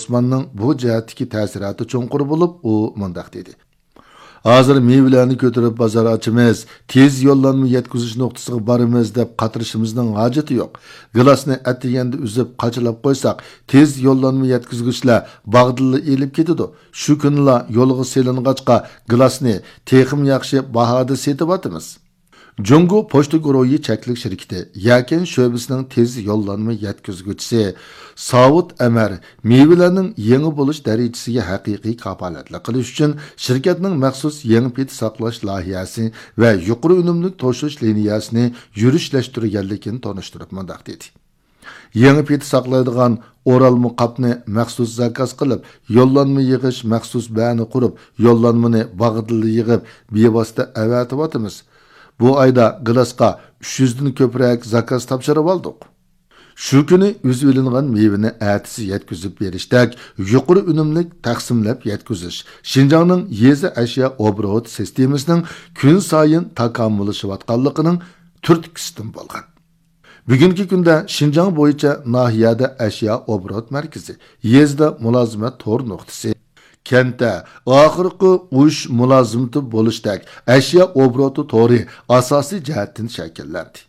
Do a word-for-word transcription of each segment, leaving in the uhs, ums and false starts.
ئوسماننىڭ بۇ جەھەتتىكى تەسىراتى چوڭقۇر بولۇپ، ئۇ مۇنداق دېدى: ھازىر مېۋىلەرنى كۆتۈرۈپ بازار ئاچىمىز، تېز يوللانما يەتكۈزۈش نۇقتىسىغا بارىمىز دەپ قاترىشىمىزنىڭ ھاجىتى يوق. گىلاسنى ئەتىگەندە ئۈزۈپ قاچىلاپ قويساق، تېز يوللانما يەتكۈزگۈچلەر باغدىنلا ئېلىپ كېتىدۇ. شۇ كۈنىلا يولغا سېلىنغاچقا، گىلاسنى تېخىمۇ ياخشى باھادا سېتىۋاتىمىز. جۇڭگو پوچتا گۇرۇھى چەكلىك شىركىتى يەكەن شۆبىسىنىڭ تېز يوللانما يەتكۈزگۈچىسى ساۋۇت ئەمەر مېۋىلەرنىڭ يېڭى بولۇش دەرىجىسىگە ھەقىقىي كاپالەتلىك قىلىش ئۈچۈن شىركەتنىڭ مەخسۇس يېڭى پېتى ساقلاش لايىھەسى ۋە يۇقىرى ئۈنۈملۈك توشۇش لىنىيەسىنى يۈرۈشلەشتۈرگەنلىكىنى تونۇشتۇرۇپ مۇنداق دېدى: يېڭى پېتى ساقلايدىغان ئورالما قاپنى مەخسۇس زاكاز قىلىپ، يوللانما يىغىش مەخسۇس بەنى قۇرۇپ، يوللانمىنى ۋاقتىدا يىغىپ، بىۋاسىتە ئەۋەتىۋاتىمىز. بۇ ئايدا گىلاسقا ئۈچ يۈزدىن كۆپرەك زاكاز تاپشۇرۇۋالدۇق. شۇ كۈنى ئۈزۈۋېلىنغان مېۋىنى ئەتىسى يەتكۈزۈپ بېرىشتەك يۇقىرى ئۈنۈملۈك تەقسىملەپ يەتكۈزۈش شىنجاڭنىڭ يېزا ئەشيا ئوبوروت سىستېمىسىنىڭ كۈنسايىن تاكامۇللىشىۋاتقانلىقىنىڭ تۈرتكىسىدىن بولغان. بۈگۈنكى كۈندە شىنجاڭ بويىچە ناھىيەدە ئەشيا ئوبوروت مەركىزى، يېزىدا مۇلازىمەت تور نۇقتىسى، كەنتتە ئاخىرقى ئۇرۇش مۇلازىمىتى بولۇشتەك ئەشيا ئوبوروتى تورى ئاساسىي جەھەتتىن شەكىللەندى.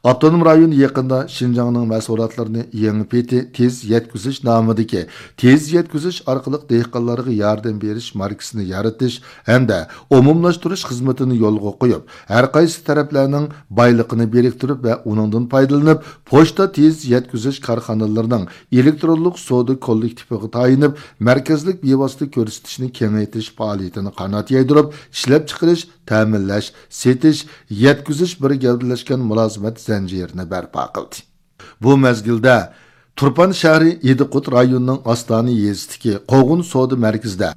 ئاپتونوم رايون يېقىندا شىنجاڭنىڭ مەھسۇلاتلىرىنى يېڭى پېتى تېز يەتكۈزۈش نامىدىكى تېز يەتكۈزۈش ئارقىلىق دېھقانلارغا ياردەم بېرىش ماركىسىنى يارىتىش ھەمدە ئومۇملاشتۇرۇش خىزمىتىنى يولغا قويۇپ، ھەر قايسى تەرەپلەرنىڭ بايلىقىنى بىرىكتۈرۈپ ۋە ئۇنىڭدىن پايدىلىنىپ، پوچتا تېز يەتكۈزۈش كارخانىلىرىنىڭ ئېلېكترونلۇق سودا كوللېكتىپىغا تايىنىپ، مەركەزلىك بىۋاسىتە كۆرسىتىشنى كېڭەيتىش پائالىيىتىنى قانات يايدۇرۇپ، ئىشلەپچىقىرىش، تەمىنلەش، سېتىش، يەتكۈزۈش بىر گەۋدىلەشكەن مۇلازىمەت زەنجىرىنى بەرپا قىلدى. بۇ مەزگىلدە تۇرپان شەھىرى ئىدىقۇت رايونىنىڭ ئاستانە يېزىسىدىكى قوغۇن سودا مەركىزىدە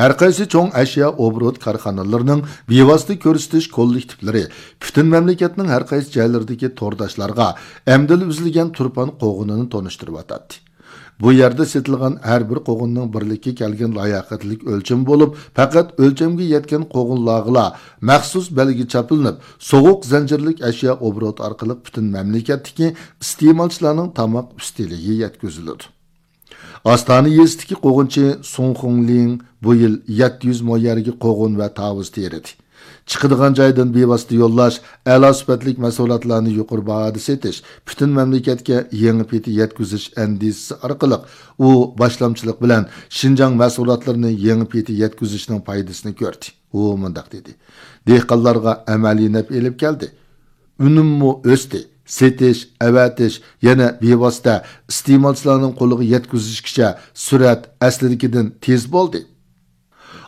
ھەرقايسى چوڭ ئەشيا ئوبوروت كارخانىلىرىنىڭ بىۋاسىتە كۆرسىتىش كوللېكتىپلىرى پۈتۈن مەملىكەتنىڭ ھەرقايسى جايلىرىدىكى تورداشلارغا ئەمدىلا ئۈزۈلگەن تۇرپان قوغۇنىنى تونۇشتۇرۇۋاتاتتى. بۇ يەردە سېتىلغان ھەر بىر قوغۇننىڭ بىرلىككە كەلگەن لاياقەتلىك ئۆلچىمى بولۇپ، پەقەت ئۆلچەمگە يەتكەن قوغۇنلارغىلا مەخسۇس بەلگە چاپلىنىپ، سوغۇق زەنجىرلىك ئەشيا ئوبوروتى ئارقىلىق پۈتۈن مەملىكەتتىكى ئىستېمالچىلارنىڭ تاماق ئۈستىلىگە يەتكۈزۈلىدۇ. ئاستانە يېزىسىدىكى قوغۇنچى سۇڭ خۇڭلىڭ بۇ يىل يەتتە يۈز مو يەرگە قوغۇن ۋە تاۋۇز تېرىدى. چىقىدىغان جايدىن بىۋاسىتە يوللاش، ئەلا سۈپەتلىك مەھسۇلاتلارنى يۇقىرى باھادا سېتىش، پۈتۈن مەملىكەتكە يېڭى پېتى يەتكۈزۈش ئەندىزىسى ئارقىلىق ئۇ باشلامچىلىق بىلەن شىنجاڭ مەھسۇلاتلىرىنى يېڭى پېتى يەتكۈزۈشنىڭ پايدىسىنى كۆردى. ئۇ مۇنداق دېدى: دېھقانلارغا ئەمەلىي نەپ ئېلىپ كەلدى. ئۈنۈممۇ ئۆستى. سېتىش، ئەۋەتىش، يەنە بىۋاسىتە ئىستېمالچىلارنىڭ قولىغا يەتكۈزۈشكىچە سۈرئەت ئەسلىدىكىدىن تېز بولدى.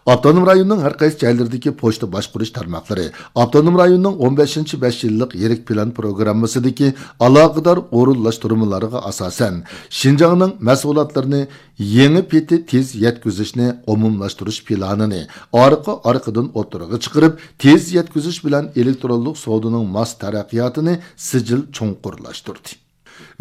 ئاپتونوم رايوننىڭ ھەر قايسى جايلىرىدىكى پوچتا باشقۇرۇش تارماقلىرى ئاپتونوم رايوننىڭ ئون بەشىنچى بەش يىللىق يىرىك پىلان پروگراممىسىدىكى ئالاقىدار ئورۇنلاشتۇرمىلارغا ئاساسەن، شىنجاڭنىڭ مەھسۇلاتلىرىنى يېڭى پېتى تېز يەتكۈزۈشنى ئومۇملاشتۇرۇش پىلانىنى ئارقا ئارقىدىن ئوتتۇرىغا چىقىرىپ، تېز يەتكۈزۈش بىلەن ئېلېكترونلۇق سودىنىڭ ماس تەرەققىياتىنى سىجىل چوڭقۇرلاشتۇردى.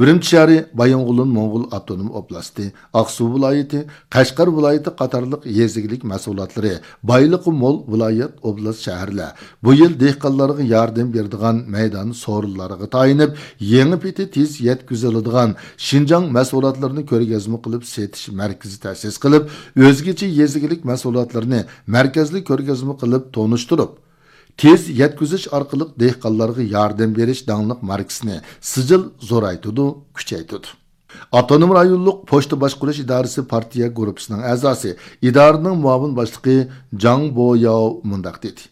ئۈرۈمچى شەھىرى، بايىنغولىن موڭغۇل ئاپتونوم ئوبلاستى، ئاقسۇ ۋىلايىتى، قەشقەر ۋىلايىتى قاتارلىق يېزا ئىگىلىك مەھسۇلاتلىرى بايلىقى مول ۋىلايەت، ئوبلاست، شەھەرلەر بۇ يىل دېھقانلارغا ياردەم بېرىدىغان مەيدان سورۇنلارغا تايىنىپ، يېڭى پېتى تېز يەتكۈزۈلىدىغان شىنجاڭ مەھسۇلاتلىرىنى كۆرگەزمە قىلىپ سېتىش مەركىزى تەسىس قىلىپ، ئۆزگىچە يېزا ئىگىلىك مەھسۇلاتلىرىنى مەركەزلىك كۆرگەزمە قىلىپ تونۇشتۇرۇپ، تېز يەتكۈزۈش ئارقىلىق دېھقانلارغا ياردەم بېرىش داڭلىق ماركىسىنى سىجىل زورايتىدۇ، كۈچەيتىدۇ. ئاپتونوم رايونلۇق پوچتا باشقۇرۇش ئىدارىسى پارتىيە گۇرۇپپىسىنىڭ ئەزاسى، ئىدارىنىڭ مۇئاۋىن باشلىقى جاڭ بوياۋ مۇنداق دېدى: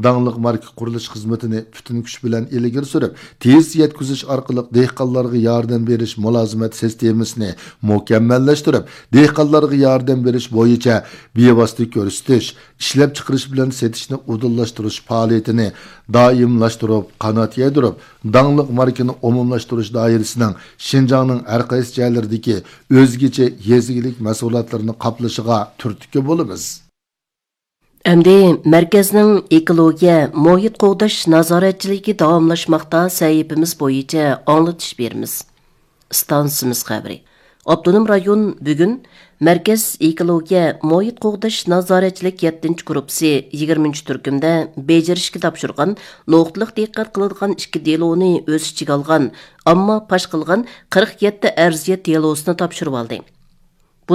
داڭلىق ماركا قۇرۇلۇش خىزمىتىنى پۈتۈن كۈچ بىلەن ئىلگىرى سۈرۈپ، تېز يەتكۈزۈش ئارقىلىق دېھقانلارغا ياردەم بېرىش مۇلازىمەت سىستېمىسىنى مۇكەممەللەشتۈرۈپ، دېھقانلارغا ياردەم بېرىش بويىچە بىۋاسىتە كۆرسىتىش، ئىشلەپچىقىرىش بىلەن سېتىشنى ئۇدۇللاشتۇرۇش پائالىيىتىنى دائىملاشتۇرۇپ، قانات يايدۇرۇپ، داڭلىق ماركىنى ئومۇملاشتۇرۇش دائىرىسىنىڭ شىنجاڭنىڭ ھەر قايسى جايلىرىدىكى ئۆزگىچە يېزا ئىگىلىك مەھسۇلاتلىرىنى قاپلىشىغا تۈرتكە بولىمىز. ئەمدى مەركەزنىڭ ئېكولوگىيە، مۇھىت قوغداش نازارەتچىلىكى داۋاملاشماقتا سەھىپىمىز بويىچە ئاڭلىتىش بېرىمىز. ئىستانسىمىز خەۋىرى. ئاپتونوم رايون بۈگۈن مەركەز ئېكولوگىيە، مۇھىت قوغداش نازارەتچىلىك يەتتىنچى گۇرۇپپىسى يىگىرمىنچى تۈركۈمدە بېجىرىشكە تاپشۇرغان نۇقتىلىق دىققەت قىلىدىغان ئىككى دېلونى ئۆز ئىچىگە ئالغان، ئامما پاش قىلغان قىرىق يەتتە ئەرزىيەت دېلوسىنى تاپشۇرۇۋالدى.